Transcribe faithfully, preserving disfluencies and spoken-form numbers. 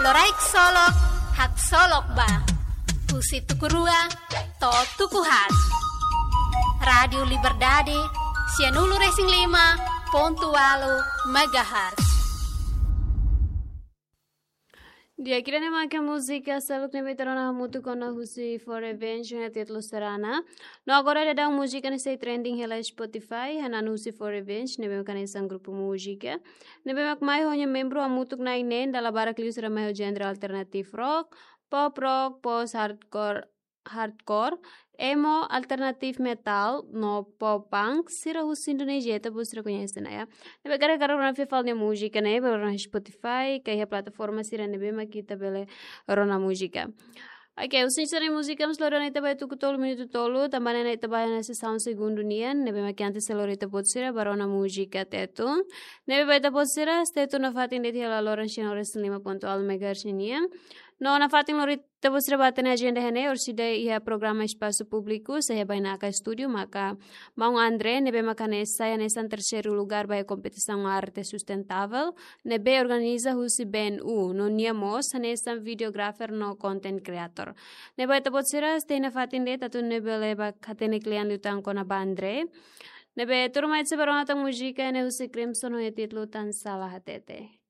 Loraik solok, haksolok ba. Husi tuku rua to'o tuku haat. Rádiu Liberdade, sianulu-resin-lima pontu ualu megahertz. Di'ak, ida-ne'e mak múzika seluk ne'ebé ita rona hamutuk ona husi Four Revenge, ho títulu Serana. No agora daudaun múzika ne'e sei trending hela Spotify, hanesan husi Four Revenge, ne'ebé mak hanesan grupu múzika ne'ebé mak mai ho nia membru hamutuk na'in-neen, dala barak liu sira mai ho genre alternative rock, pop rock, post hardcore, hardcore, emo, alternative metal, no pop punk, sira husi Indonézia, ita-boot sira koñese ona, ya. Ne'ebé karik ita rona fali nia múzika ne'e, bele rona Spotify, ka iha plataforma sira ne'ebé mak ita bele rona múzika. Oke, husi sira-nia múzika mós lori ona ita ba iha tuku tolu minutu tolu, tanba ne'e ita ba iha ona sesaun segundu nian, ne'ebé mak antes sei lori ita-boot sira ba rona múzika Tetun. Ne'ebé ba ita-boot sira, Tetun nafatin de'it iha laloran sianulu-resin-lima pontu ualu megahertz nian. No nafatin lori ita-boot sira ba hatene ajenda iha ne'e, orsida iha programa Espasu Públiku, sei iha bainaka estúdiu, maka Maun André, ne'ebé mak hanesan, sai hanesan terseiru lugar ba iha kompetisaun arte sustentável ne'ebé organiza husi B N U, no nia mós hanesan videographer no content creator. Ne'ebé ba ita-boot sira, sei iha nafatin de'it, atu nune'e bele ba hatene kle'an liután kona-ba André. Ne'ebé tuirmai ita sei ba rona tan múzika ne'e husi Crimson ho nia títulu Tansá La Hatete.